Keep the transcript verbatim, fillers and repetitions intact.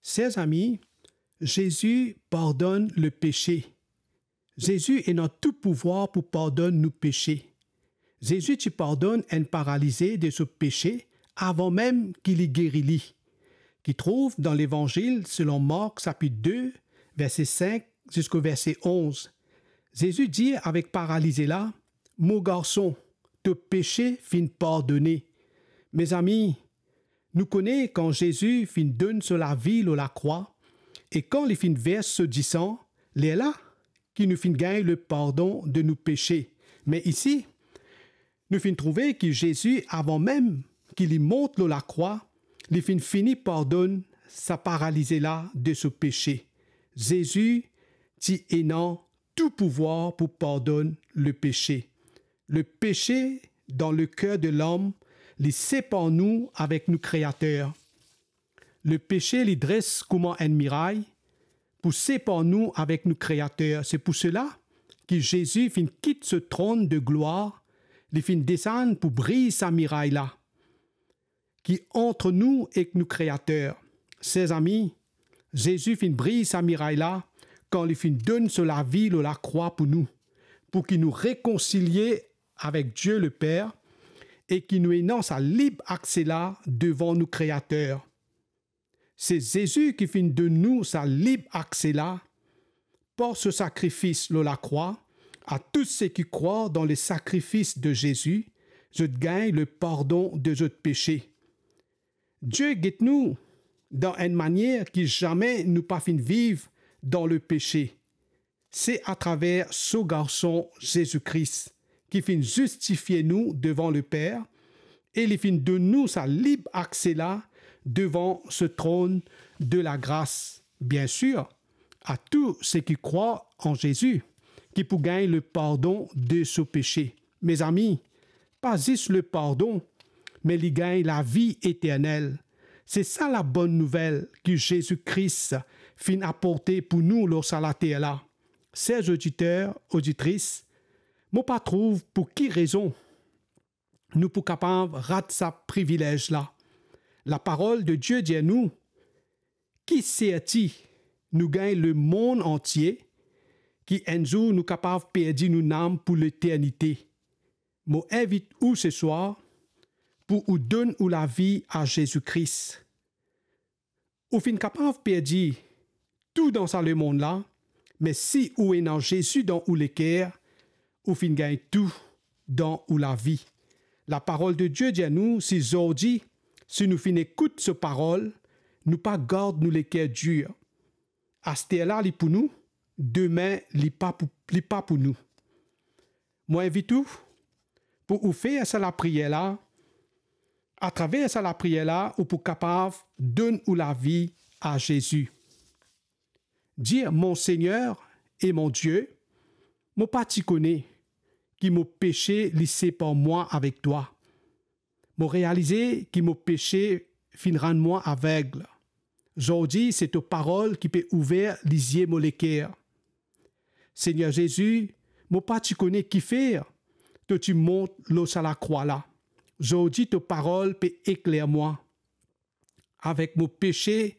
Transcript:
Ser zami, Zezi pardonn lepese. Zezi ena tou pouvwar pou pardonn nou pese. Zezi ti pardonn enn paralize de so pese avan mem ki li geri li, ki trouv dan Levanzil selon Mark sapit de, verse sink ziska verse onz. Zezi dir avek paralize la, "Mo garson, to pese finn pardone." Mezami, nou kone kan Zezi finn donn so lavi lor lakrwa e kan li finn vers so disan, lerla ki nou finn gagn lepardon de nou pese. Me isi, nou finn trouve ki Zezi, avan mem ki li mont lor lakrwa, li finn fini pardonn sa paralize la de so pese. Zezi ti ena tou pouvwar pou pardonn lepese. Lepese dan leker de lom, li separ nou avek nou Kreater. Lepese li dres kouma enn miray pou separ nou avek nou Kreater. Se pou sela ki Zezi finn kit so tronn de glwar, li finn desann pou briz sa miray la ki ant nou ek nou Kreater. Ser zami, Zezi finn briz sa miray la kan li finn donn so lavi lor lakrwa pou nou, pou ki nou rekonsilie avek Die Leper e ki nou ena sa lib akse la devan nou Kreater. Se Zezi ki finn donn nou sa lib akse la par so sakrifis lor lakrwa. A tou seki krwar dan lesakrifis de Zezi, zot gagn lepardon de zot pese. Die get nou dan enn manier ki zame nou pa finn viv dan lepese. Se atraver so Garson Zezi Kris ki finn zistifie nou devan Leper e li finn donn nou sa lib akse la devan so tronn de lagras. Biensir, a tou seki krwar an Zezi ki pou gagn lepardon de so pese. Mezami, pa zis lepardon, me li gagn lavi eternel. Se sa labonn nouvel ki Zezi Kris finn aporte pou nou lor sa later la. Ser oditer, oditris, mo pa trouv pou ki rezon nou pou kapav rat sa privilez la. Laparol de Die dir nou, ki serti nou gagn lemond antie, ki enn zour nou kapav perdi nou nam pou leternite. Mo invit ou seswar pou ou donn ou lavi a Zezi Kris. Ou finn kapav perdi tou dan sa lemond la, me si ou ena Zezi dan ou leker, ou finn gagn tou dan ou lavi. Laparol de Die dir nou, si zordi, si nou finn ekout so parol, nou pa gard nou leker dir. Aster la li pou nou, dime li pa pou, li pa pou nou. Mo invit ou pou ou fer sa lapriyer la. Atraver sa lapriyer la, ou pou kapav donn ou lavi a Zezi. Dir, Mon Segner e mon Die, mo pa ti kone ki mo pese li separ mwa avek twa. Mo realize ki mo pese finn rann mwa aveg. Zordi, se to parol ki pe ouver lizie mo leker. Segner Zezi, mo pa ti kone kifer to ti mont lor sa lakrwa la. Zordi, to parol pe ekler mwa. Avek mo pese